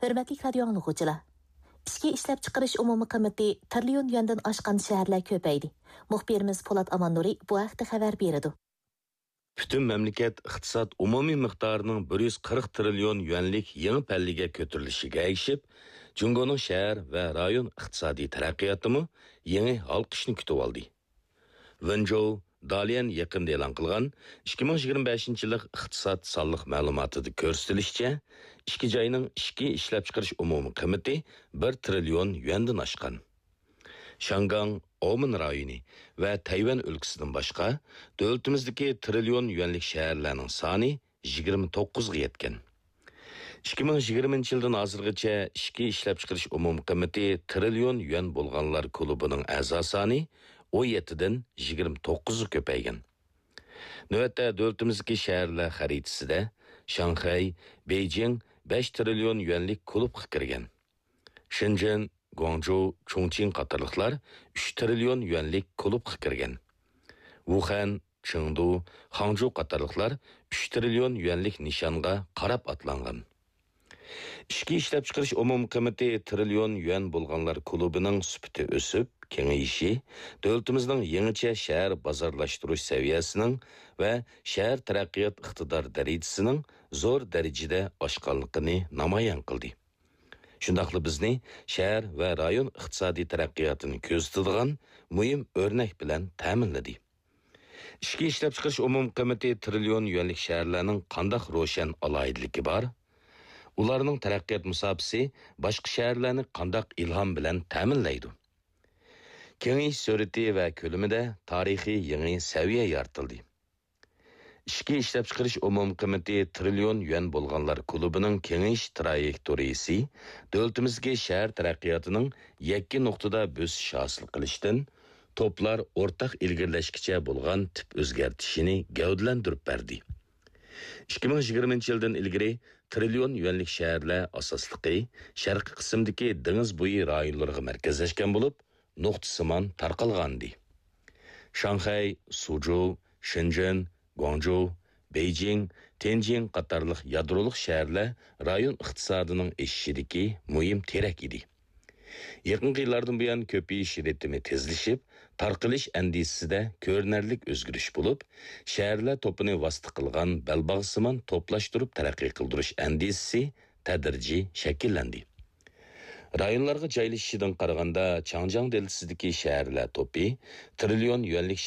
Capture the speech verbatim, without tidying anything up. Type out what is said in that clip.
ھۆرمەتلىك رادىيو ئاڭلىغۇچىلار! ئىچكى ئىشلەپچىقىرىش ئومۇمىي قىممىتى تىرىليون يۈەندىن ئاشقان شەھەرلەر كۆپەيدى. مۇخبىرىمىز پولات ئاماننۇرى بۇ ھەقتە خەۋەر بېرىدۇ. پۈتۈن مەملىكەت ئىقتىساد ئومۇمىي مىقدارىنىڭ بىر يۈز قىرىق تىرىليون يۈەنلىك يېڭى پەللىگە كۆتۈرۈلۈشىگە ئەگىشىپ، جۇڭگونىڭ شەھەر ۋە رايون ئىقتىسادىي تەرەققىياتىمۇ يېڭى ھالقىشنى كۈتۈۋالدى. ۋېنجوۋ داليەن يېقىندا ئېلان قىلغان ئىككى مىڭ يىگىرمە بەشىنچى يىللىق ئىقتىساد سانلىق مەلۇماتىدا كۆرسىتىلىشىچە، ئىككى جاينىڭ ئىچكى ئىشلەپچىقىرىش ئومۇمىي قىممىتى بىر تىرىليون يۈەندىن ئاشقان. شياڭگاڭ، ئومېن رايونى ۋە تەيۋەن ئۆلكىسىدىن باشقا، دۆلىتىمىزدىكى تىرىليون يۈەنلىك شەھەرلەرنىڭ سانى يىگىرمە توققۇزغا يەتكەن. ئىككى مىڭ يىگىرمىنچى يىلدىن ھازىرغىچە ئىچكى ئىشلەپچىقىرىش ئومۇمىي قىممىتى تىرىليون يۈەن بولغانلار كۇلۇبىنىڭ ئەزا سانى ئون يەتتىدىن يىگىرمە توققۇزغا كۆپەيگەن. نۆۋەتتە دۆلىتىمىزدىكى شەھەرلەر خەرىتىسىدە شاڭخەي، بېيجىڭ بەش تىرىليون يۈەنلىك كۇلۇبقا كىرگەن. شېنجېن، گۇاڭجۇ، چۇڭچىڭ قاتارلىقلار ئۈچ تىرىليون يۈەنلىك كۇلۇبقا كىرگەن. ۋۇخەن، چېڭدۇ، خاڭجۇ قاتارلىقلار ئۈچ تىرىليون يۈەنلىك نىشانغا قاراپ ئاتلانغان. ئىچكى ئىشلەپچىقىرىش ئومۇمىي قىممىتى تىرىليون يۈەن بولغانلار كۇلۇبىنىڭ سۈپىتى ئۆسۈپ، كېڭىيىشى دۆلىتىمىزنىڭ يېڭىچە شەھەر بازارلاشتۇرۇش سەۋىيەسىنىڭ ۋە شەھەر تەرەققىيات ئىقتىدار دەرىجىسىنىڭ زور دەرىجىدە ئاشقانلىقىنى نامايان قىلدى. شۇنداقلا بىزنى شەھەر ۋە رايون ئىقتىسادىي تەرەققىياتىنى كۆزىتىدىغان مۇھىم ئۆرنەك بىلەن تەمىنلىدى. ئىچكى ئىشلەپچىقىرىش ئومۇمىي قىممىتى تىرىليون يۈەنلىك شەھەرلەرنىڭ قانداق روشەن ئالاھىدىلىكى بار؟ ئۇلارنىڭ تەرەققىيات مۇساپىسى باشقا شەھەرلەرنى قانداق ئىلھام بىلەن تەمىنلەيدۇ؟ كېڭىيىش سۈرئىتى ۋە كۆلىمىدە تارىخىي يېڭى سەۋىيە يارىتىلدى. ئىچكى ئىشلەپچىقىرىش ئومۇمىي قىممىتى تىرىليون يۈەن بولغانلار كۇلۇبىنىڭ كېڭىيىش تىرايېكتورىيىسى دۆلىتىمىزدىكى شەھەر تەرەققىياتىنىڭ يەككە نۇقتىدا بۆسۈش ھاسىل قىلىشتىن توپلار ئورتاق ئىلگىرىلەشكىچە بولغان تىپ ئۆزگەرتىشىنى گەۋدىلەندۈرۈپ بەردى. ئىككى مىڭ يىگىرمىنچى يىلدىن ئىلگىرى تىرىليون يۈەنلىك شەھەرلەر ئاساسلىقى شەرقىي قىسىمدىكى دېڭىز بويى رايونلىرىغا مەركەزلەشكەن بولۇپ، نۇقتىسىمان تارقالغانىدى. شاڭخەي، سۇجۇ، شېنجېن، گۇاڭجۇ، بېيجىڭ، تيەنجىن قاتارلىق يادرولۇق شەھەرلەر رايون ئىقتىسادىنىڭ ئېشىشىدىكى مۇھىم تىرەك ئىدى. يېقىنقى يىللاردىن بۇيان كۆپىيىش رىتىمى تېزلىشىپ، تارقىلىش ئەندىزىسىدە كۆرۈنەرلىك ئۆزگىرىش بولۇپ، شەھەرلەر توپىنى ۋاسىتە قىلغان بەلباغسىمان توپلاشتۇرۇپ تەرەققىي قىلدۇرۇش ئەندىزىسى تەدرىجىي شەكىللەندى. رايونلارغا جايلىشىشىدىن قارىغاندا، چاڭجياڭ دېلتىسىدىكى شەھەرلەر توپى تىرىليون يۈەنلىك